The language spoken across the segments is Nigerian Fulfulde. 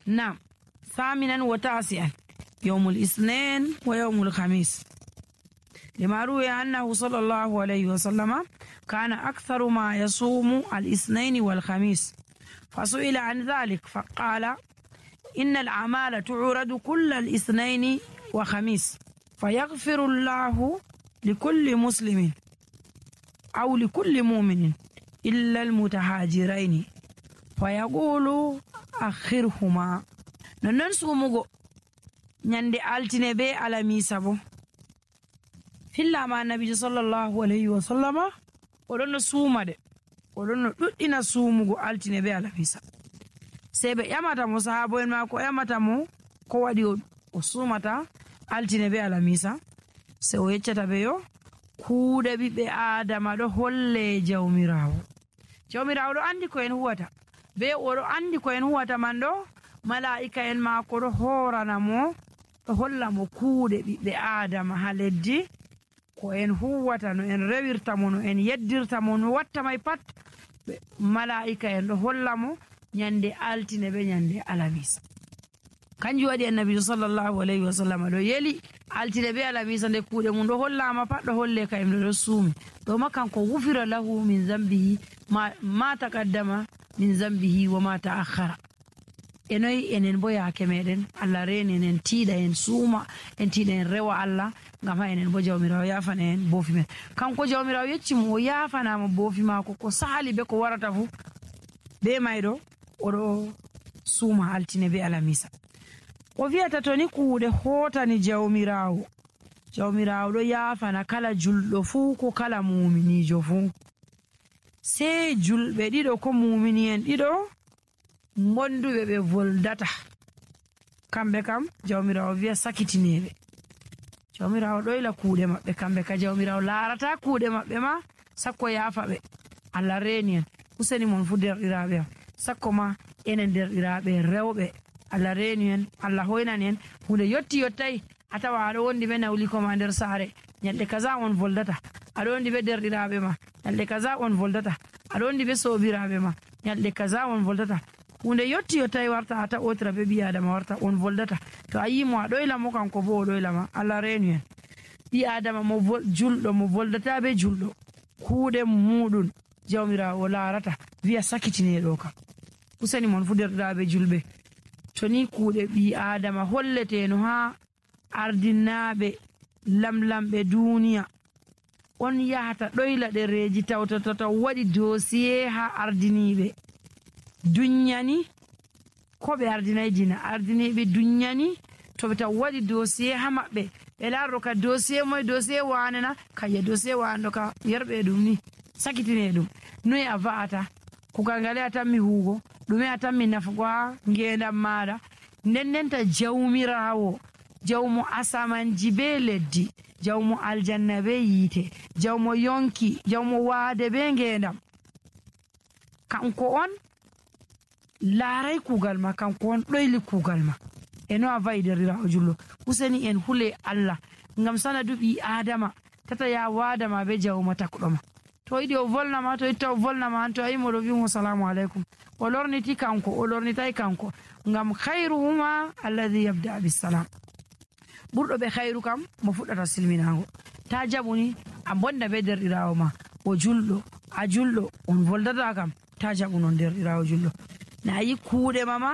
نعم. ثامنا وتاسعا يوم الاثنين ويوم الخميس، لما روي أنه صلى الله عليه وسلم كان أكثر ما يصوم الاثنين والخميس، فسئل عن ذلك فقال: إن الأعمال تعرض كل الاثنين وخميس، فيغفر الله لكل مسلم أو لكل مؤمن إلا المتهاجرين فيقول أخرهما. نون سومغو ñande altine be alamisa bo fillama annabijo sallallahu alayhi wa sallama oɗon no suuma de, oɗon no ɗuɗɗina suumugo altine be alamisa. Sey ɓe ƴamata mo, sahabo en maako ƴamata mo ko waɗi o suumata altine be alamisa. Se o yeccata ɓe yo kuuɗe ɓiɓɓe adama ɗo holle jawmirawo. Jawmirawo ɗo andi ko en huwata, be oɗo andi ko en huwata man ɗo mala'ika en maako ɗo horana mo, ɗo holla mo kuuɗe ɓiɓɓe adama ha leddi ko en huwata, no en rewirta mo, no en yeddirta mo, no watta may pat mala'ika en ɗo holla mo ñande altine be ñande alamisa. Kanjum waɗi annabijo sallallahu alayhi wa sallam ɗo yeli altine be alamisa nde kuuɗe mum ɗo hollama pat ɗo holle ka emɗo ɗo suumi ɗo ma kanko wufira lahu min zambihi ma taqaddama min zambihi wa ma ta'akhkhara. Enoyi enen bo yaake meɗen Allah reni enen tiiɗa en suuma, en tiiɗa en rewa Allah ngam ha enen bo jawmirawo yafana en boofi men. Kanko jawmirawo yecci mo o yafanama boofi maako ko sahali be ko warata fu, be mayɗo oɗo suuma altine be alamisa. O wiyata to ni kuuɗe hotani jawmirawo, jawmirawo ɗo yafana kala julɗo fuu ko kala muminijo fuu. Sey julɓe ɗiɗo ko mumini en ɗiɗo gonduɓe ɓe voldata, kamɓe kam jawmirawo wiya sakitineɓe. Jawmirawo ɗoyla kuuɗe maɓɓe, kamɓe ka jawmirawo larata kuuɗe maɓɓe ma sakko yafa ɓe. Allah reni en, useni mon fu derɗiraɓe am, sakko ma enen derɗiraɓe rewɓe Allah reni en, Allah hoynani en hunde yotti yottayi a tawa aɗo wondi ɓe nawliko ma nder saare ñalɗe kaza on voldata, aɗo wondi ɓe derɗiraɓe ma ñalɗe kaza on voldata, aɗo wondi ɓe sobiraɓe ma ñalɗe kaza on voldata. Hunde yotti yottayi warta a taɓotira ɓe ɓi adama warta on voldata. To a yimo a ɗoyla mo kanko bo o ɗoylama. Allah reni en, ɓi adama mo julɗo mo voldata be julɗo kuuɗe muɗum jawmirawo o larata wiya sakitineɗo kam. Useni mon fu derɗiraɓe julɓe, to ni kuuɗe ɓi adama holleteno ha ardinaɓe lamlamɓe duniya on yahata ɗoyla ɗereji tawtata taw waɗi dosiye ha ardiniɓe dunyani ko ɓe ardinayi dina, ardiniɓe dunyani to ɓe taw waɗi dosiye ha maɓɓe ɓe larro ka dosiye moye dosiye wanena kaya dosiye wanɗo ka yerɓe ɗum ni sakitine ɗum noyi a va'ata kugal ngale a tammi huugo ɗume a tammi nafugo ha ngendam maɗa. Ndendenta jawmirawo, jawmo asamanji be leddi, jawmo aljanna be yiite, jawmo yonki, jawmo waade be ngendam, kanko on laaray kuugal ma, kanko on ɗoyli kuugal ma. Eno a wayi derɗirawo jullo, useni en hule Allah ngam sanadu ɓi adama tata ya waadama be jawma takɗo ma. To yiɗi o volnama, to yitta o volnama han, to a yimo ɗo wimo salamu aleykum, o lorniti kanko, o lornitayi kanko, ngam khayruhuma alladhi yabda bisalam. Ɓurɗo ɓe khayru kam mo fuɗɗata silminago. Ta jaɓuni a bonda be derɗirawo ma o julɗo, a julɗo on voldata kam ta jaɓu non derɗirawo julɗo. Na yi kuuɗe mama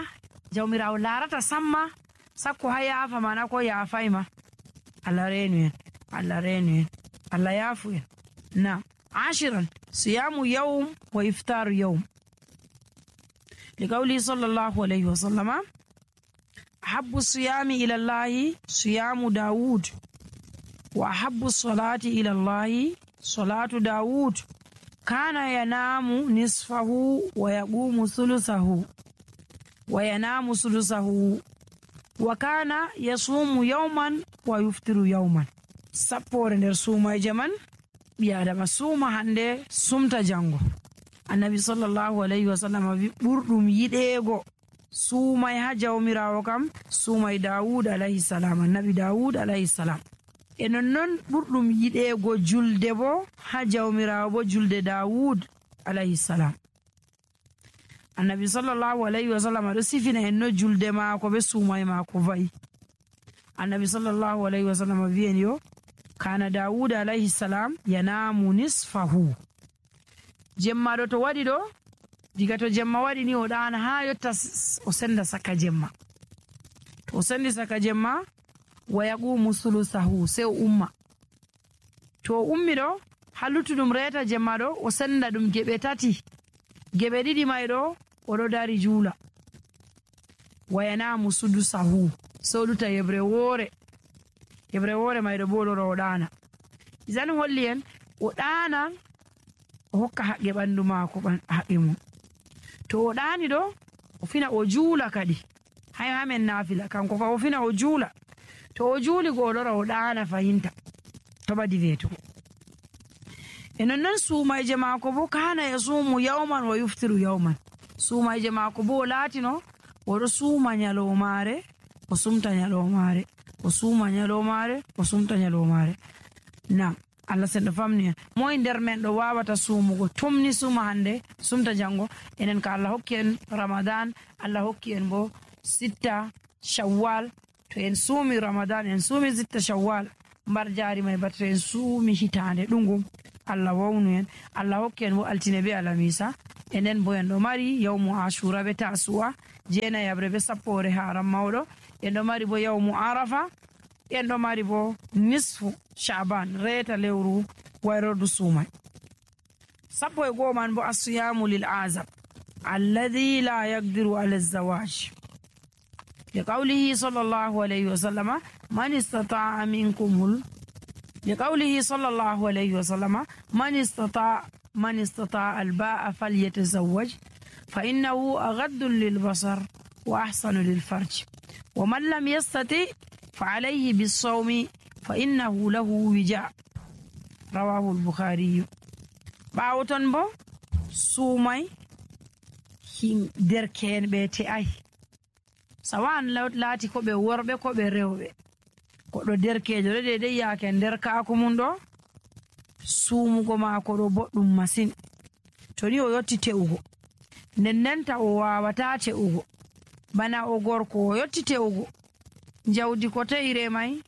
jawmirawo larata samma sakko ha yafa mana ko yafayma. Allah renu en, Allah renu en, Allah yafu en. Na 10 صيام يوم وإفطار يوم، لقوله صلى الله عليه وسلم: أحب الصيام إلى الله صيام داود، وأحب الصلاة إلى الله صلاة داود، كان ينام نصفه ويقوم ثلثه وينام ثلثه، وكان يصوم يوما ويفطر يوما. سبور nder suumaje man ɓi adama suuma hande sumta jango. Annabi sallallahu alayhi wa sallam wi ɓurɗum yiɗeego suumay ha jawmirawo kam suumay Dawud alayhi salam, annabi Dawud alayhi salam. E nonnon ɓurɗum yiɗeego julde bo ha jawmirawo bo julde Dawud alayhi salam. annabi sallllahu alayhi wa sallam aɗo sifina en no julde maako be suumay maako va'i. annabi sallllahu alayhi wa sallam wi'en yo kana dawuda alayhi salam yanamu nisfahu. jemma ɗo to waɗi ɗo, diga to jemma waɗi ni o ɗana ha yotta o senda saka jemma. to o sendi saka jemma wa yaqumu sulusahu, sei o umma. to o ummi ɗo ha luttuɗum reta jemma ɗo o senda ɗum geɓe tati. geɓe ɗiɗi may ɗo oɗo dari juula. wa yanamu sudusahu, sei o luta yebre woore. yebre woore may ɗo bo ɗo o ɗana. isan holli en o ɗanan o hokka haqqe ɓandu maako haqqe mum. to o ɗani ɗo o fina o juula kadi ha men nafila kanko fa o fina o juula. to o juuli go o lora o ɗana fahinta to ɓadi wetugo. e nonnon suumayje maako bo kana yasumu yawman wa yuftiru yawman. suumayje maako bo o laatino oɗo suuma nyalomare o sumta nyalomare, o suuma nyalomare o sumta nyalomare. nam Allah senɗo famni en moye nder men ɗo wawata suumugo tumni suuma hande sumta jango. enen ka Allah hokki en ramadan, Allah hokki en bo sitta shawwal. to en suumi ramadan en suumi sitta shawwal mbar jaari may bato en suumi hitande ɗungum. Allah wawnu en, Allah hokki en bo altine be alamisa. enen bo en ɗo mari yawmu ashura be tasu'a jeenayabre be sappore haram mawɗo. en ɗo mari bo yawmu arafa. en ɗo mari bo nisfu shaban reta lewru wayrordu suumay. sappo e go'o man bo asiyamu lil azab alladhi la yaqdiru ala zawaj liqawlihi sallallahu alayhi wa sallama man istata'a minkum لقوله صلى الله عليه وسلم من استطاع الباء فليتزوج فإنه أغض للبصر وأحسن للفرج ومن لم يستطع فعليه بالصوم فإنه له وجاء رواه البخاري. باوتون بو سومي هين دركين بيتي أي سواء لاتي كوبي وربي كوبي ريوبي koɗo derkejo ɗo dedei yaake nder kaako mum ɗo suumugo maako ɗo boɗɗum masin. to ni o yotti te'ugo nennenta o wawata te'ugo bana o gorko o yotti te'ugo jawdi ko te'ire may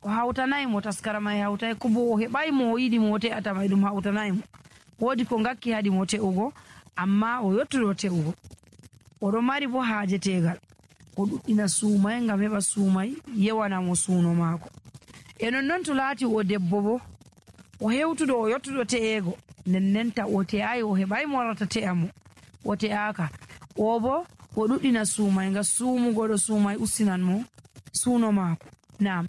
o hawtanaymo taskara may hawtay ko bo o heɓay mo o yiɗi mo o te'ata may ɗum hawtanaymo. woodi ko ngakki haɗi mo te'ugo amma o yottuɗo te'ugo oɗo mari bo haaje tegal o ɗuɗɗina suumay ngam heɓa suumay yewanamo suuno maako. e nonnon to laati o debbo bo o hewtuɗo o yottuɗo te'ego nennenta o te'ay o heɓay mo warata te'a mo o te'aka o bo o ɗuɗɗina suumay ngam suumugo ɗo suumay ustinan mo suuno maako. nam